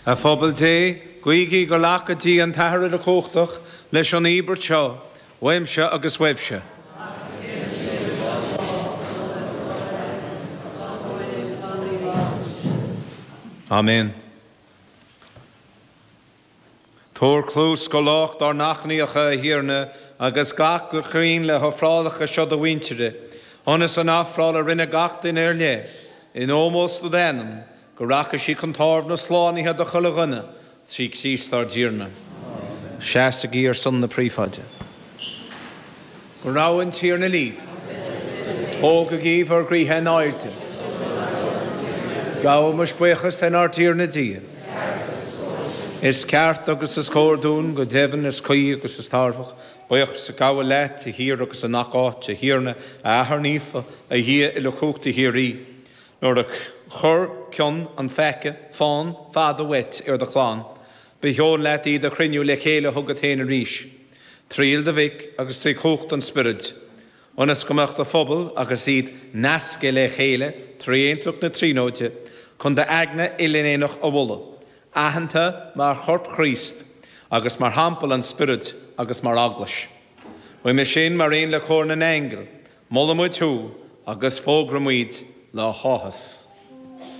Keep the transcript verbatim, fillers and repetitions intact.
A phobal Dé, guígí go nglacfaidh Dia an tAthair uilechumhachtach leis an íobairt seo, uaimse agus uaibhse. Amen. Tabhair cluas go lách dár n-achainíocha, a Thiarna, agus glac go cruinn le hofrálacha seo do mhuintire, ionas an ofráil a rinne gach duine ar leith, in ómós do d'ainm, go rachaidh sí chun tairbhe na slánaithe do chuile dhuine, trí Chríost ár dTiarna. Seasaigí ar son na Príofáide. Go raibh an Tiarna libh. Tógaigí bhur gcroíthe in airde. Gabhaimis buíochas lenár dTiarna Dia. Is ceart agus is cóir dúinn, go deimhin, is cuí agus is tairbheach, buíochas a ghabháil leat de shíor agus i ngach áit, a Thiarna, a Athair Naofa, a Dhia uilechumhachtaigh shíoraí. Nuair a chuir cion an pheaca fán fada uait ar do chlann, ba sheol leat iad a chruinniú le chéile chugat féin arís, trí fhuil do Mhic agus trí chumhacht an Spioraid, ionas go mbeadh do phobal agus iad nasctha le chéile trí aontacht na Tríonóide, chun d'eagna uile-aonach a mholadh, aitheanta mar chorp Chríost agus mar theampall an Spioraid agus mar eaglais. Uime sin, mar aon le cór na n-aingeal, molaimid thú agus fógraímid le háthas.